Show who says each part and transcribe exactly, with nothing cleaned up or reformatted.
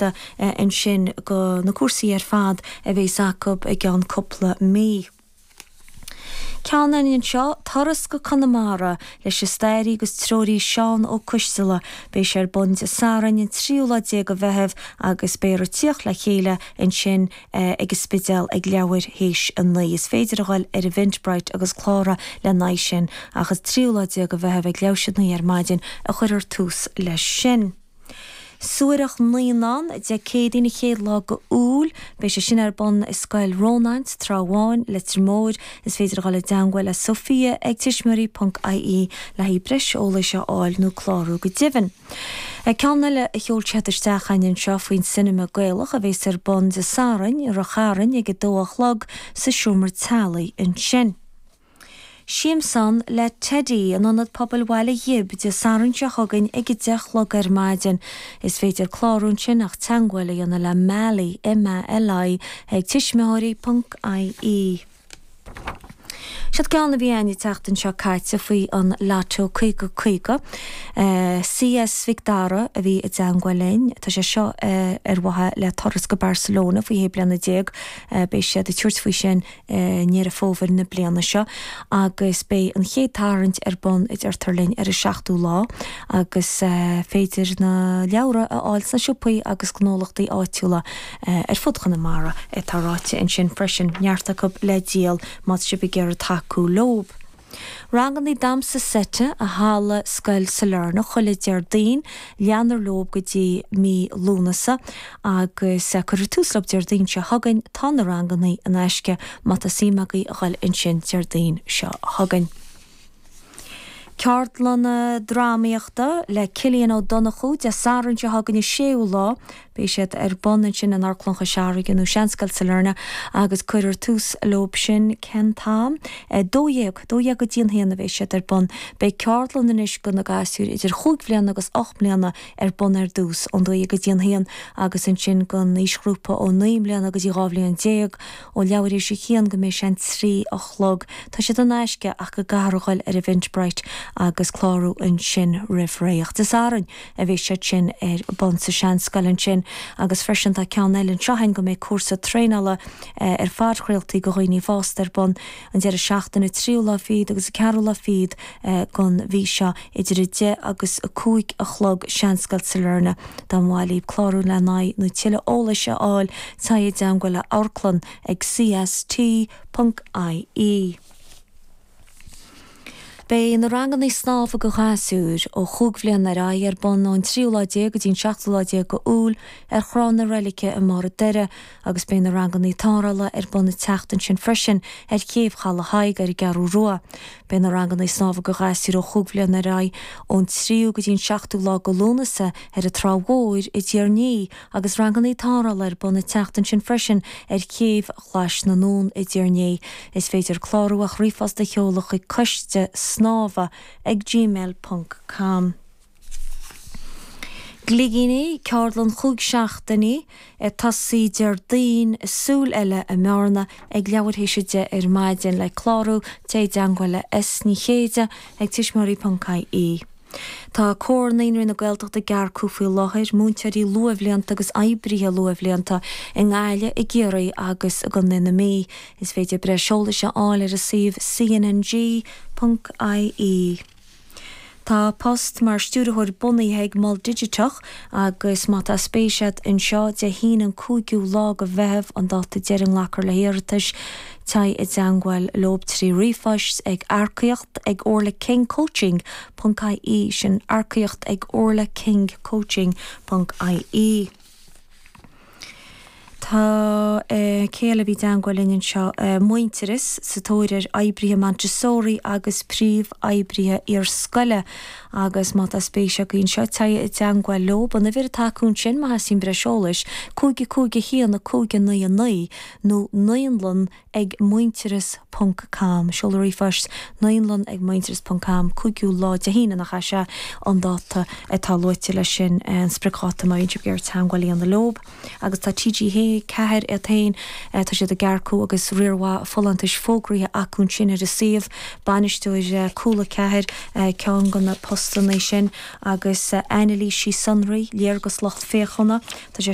Speaker 1: léitheoireachta ansin go na cúrsaí ar fad a bheas acu i gceann cúpla mí. Ceann anseo turas go Conamara leis an staraí agus treoraí Seán Ó Coisteala beidh sé ar bun Dé Sathairn an tríú lá déag de Mheitheamh agus beifear ag tíocht le chéile ansin eh, ag an Spidéal ag leathuair théis a naoi. Is féidir a dhul ar Eventbrite agus clárú le haghaidh sin ach is tríú lá déag de Mheitheamh ag leathuair théis a naoi ar maidin a chuirfear tús leis sin. Suairtheach Naíonán Dé Céadaoin an chéad lá d'Iúil, beidh sé sin ar bun i Scoil Rónáin, Trá Bháin, Leitir Móir, is féidir a dhul i dteagmháil le Sophia ag tuismitheoirí ponc IE le haghaidh breis eolais a fháil nó clárú go deimhin. Ceann eile a sheol siad isteach anseo faoin Cinema Gaelach a bheas ar bun Dé Sathairn i Ráth Chairn ag a dó a chlog sa seomra teaghlaigh ansin. Siamsán le Teddy in Ionad Pobail Bhaile Ghib Dé Sathairn seo chugainn ag a deich a chlog ar maidin. Is féidir clárú ansin ach teagmháil a dhéanamh le Mali M-A-L-I ag tuismitheoirí ponc IE. Siod ceann a bhí againn an tseachtain seo caite faoi an Lotto caoga caoga. CS Mhic Dara a bhí i dteagmháil linn, Tá sé seo ar mhaithe le turas go Barcelona faoi shé bliana déag, beidh siad ag tabhairt faoi sin i nDeireadh Fómhair na bliana seo, agus beidh an chéad tarraingt ar bun i deirtear linn ar an seachtú lá, agus féidir na leabhra a fháil sna siopaí agus gnólachtaí áitiúla ar fud Chonamara atá ráite ansin freisin neart acu le díol má tá sibh ag iarraidh tacú leo. Ranganna damhsa seite i halla Scoil Sailearna chuile Déardaoin leanfar leo go dtí mí Lúnasa agus cuirfear tús leo Déardaoin seo chugainn tá na ranganna in aisce má tá suim agaibh a dhul ansin Déardaoin seo chugainn. Ceardlanna drámaíochta le Cillian Ó Donnchú Dé Sathairn seo chugainn an séú lá, beidh siad ar bun ansin in Amharclann Chois Fharraige nó Seanscoil Sailearna agus cuirfear tús leo sin cén t-am dó dhéag dó dhéag go dtí an haon a bheidh siad ar bun. Beidh ceardlann anois do na gasúir idir chúig bhliana agus ocht mbliana ar bun ar dtús ón dó dhéag go dtí an haon agus ansin don aoisghrúpa ó naoi mbliana go dtí dhá bhliain déag ó leathuair théis a haon go mbeidh sé an trí a chlog. Tá siad in aisce ach go gcaithfear a dhul ar Eventbrite agus clárú ansin roimh ré. Dé Sathairn a bheidh siad sin ar bun sa seanscoil ansin agus freisin tá ceann eile anseo againn go mbeidh cúrsa traenála ar phodchraoltaí do dhaoine fásta ar bun an deireadh seachtaine tríú lá fichead agus a ceathrú lá fichead den mhí seo idir a deich agus a cúig a chlog Seanscoil Sailearna dá mba mhaith libh clárú le haghaidh nó tuilleadh eolais a fháil téigh i dteagmháil le amharclann ag CST ponc IE. Beidh na ranganna snámha do ghasúir ó chúig bhliana ar aghaidh ar bun ón tríú lá déag go dtí an seachtú lá déag d'Iúil ar Thrá na Reilice i mBarr an Doire agus beidh na ranganna tarrthála ar bun an tseachtain sin freisin ar chéibh Chaladh Thaidhg ar an gCeathrú Rua. Beidh na ranganna snámha do ghasúir ó chúig bhliana ar aghaidh ón tríú go dtí an seachtú lá de Lúnasa ar an Trá Mhór i dTír an Fhia agus ranganna tarrthála ar bun an tseachtain sin freisin ar chéibh Ghlais na nDún i dTír an Fhia. Is féidir clárú ach ríomhphost a sheoladh chuig coiste snámha ag gmail ponc com. Gligíní ceardlann chúig seachtainí ag tosaí Déardaoin súil eile i mBearna ag leathuair théis a deich ar maidin le clárú téigh i dteagmháil le S Ní Chéide ag tuismitheoirí ponc IE. Tá Comhar Naíonraí na Gaeltachta ag earcú faoi láthair múinteoirí luathbhlianta agus oibrithe luathbhlianta i nGaillimh, i gCiarraí agus i gContae na Mí. Is féidir breis eolais a fháil ar a suíomh cnng ponc IE. Tá post mar stiúrthóir bunaithe ag Mol Digiteach agus má tá spéis agat anseo Dé hAoine an cúigiú lá de Mheitheamh an dáta deiridh a nglacfar le hiarratais téigh i dteagmháil leo trí ríomhphost ag earcaíocht ag orlakingcoaching ponc IE sin earcaíocht ag orlakingcoaching ponc IE. Tá cé eile a bhí i dteagmháil linn anseo Muintearas sa tóir ar oibrithe Montessori agus príomhoibrithe iarscoile agus má tá spéis agaibh anseo téigh i dteagmháil leo an uimhir atá acu ansin má theastaíonn breis eolais cúig a cúig a haon a cúig a naoi a naoi nó naíonlann ag muintearas ponc com seoladh ríomhphoist naíonlann ag muintearas ponc com cúigiú lá Dé hAoine nach é sea an dáta atá luaite leis sin an spriocdháta má bhíonn sibh ag iarraidh teagmháil a dhéanamh leo agus tá TG ceathair iad féin tá siad ag earcú agus riar mhaith folúntais fógraithe acu ansin ar a suíomh bainisteoir Cúla ceathair ceann de na postanna sin agus anailísí sonraí léargas lucht féachana tá sé